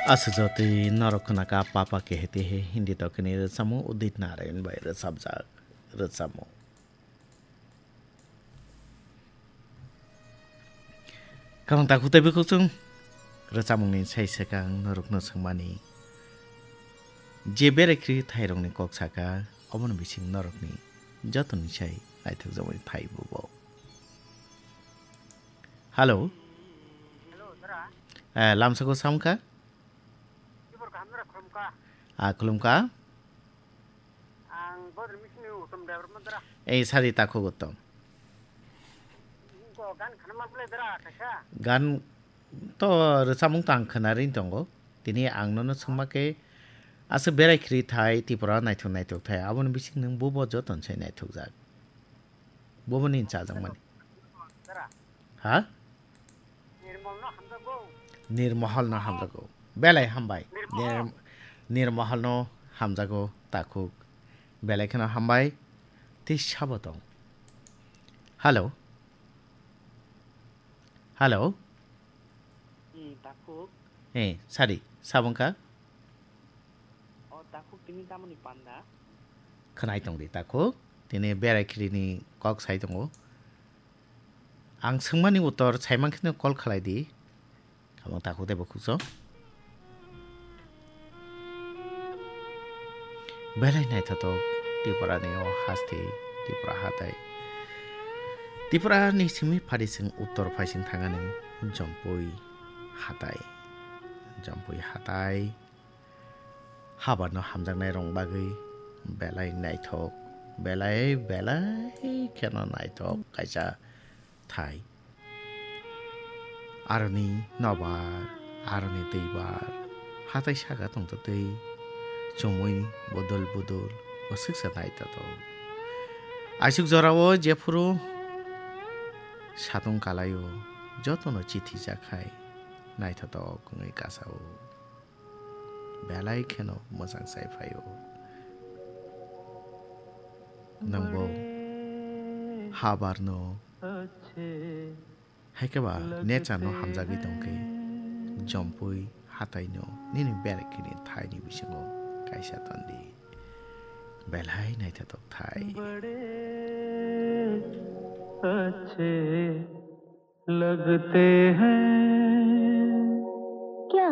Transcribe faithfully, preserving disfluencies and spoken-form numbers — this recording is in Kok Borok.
Aswk jotwi norok khwnaka Papa Kehete He Hindi Dokini rwchapmung Udit Narayan bai rwchapjak rwchapmung. Kamang takhuk tei bukhuk chwng rwchapmungni sai swkang norokno swngmani. Je berai khri thairokni kok saka, omono bising norokni jotoni sai naithokjakmani thai bubo. Hello. Hello, dara. Eh, lamsako samkha? Tibor kaham dara, khulumkha. Ah, khulumkha. Ang Bodor Misini Uttom Debbarma dara. Eh, sari takhuk Uttom. Ko gan khanama bwlai dara, kaisa. Gan to rwchapmung to ang khwnarwi tongo. Tini ang nono swngma khe aswk berai khri thai, Tripura naithok naithok thai. Aboni bising nwng bubo joton sai naithokjak. Buboni chajakmani. Dara. Ha? Nirmol no hamjago. Nirmohol no hamjago. Belai hambai. Nirmohol. Nir-, Nirmohol no hamjago takhuk. Belai kheno hambai. Tei sabo tong. Hello. Hello. Hmm, takhuk. Eh, sari, sabungka? O takhuk tini tamoni panda? Khwnai tong di takhuk. Tini berai khirini kok sai tongo. Ang swngmani uttor saiman kheno call khlai di. Amo takhuk tei bukhuk so. Belai naithotok Tripura ni o hasti, Tripura hatai. Tripura ni simi phari sing uttor phai sing thangani Jompui hatai. Jompui hatai. Habarno hamjaknai rong bagwi belai naithok, belai, belai kheno naithok kaisa thai. Aroni nobar, aroni twibar, hatai saka tongtwtwi chumui bodol bodol bwswksa naithotok. Aisuk jorao jephuru satung kalaio jotono chithi jakhai naithotok wngwi kasao. Belai kheno mwchang sai phaio. Nwngbo habarno, hai khe ba nature no hamjagwi tongkhe, Jompui hatai no nini berai khini thai ni bisingo kaisa tondi. Belai naithotok thai. लगते हैं। क्या?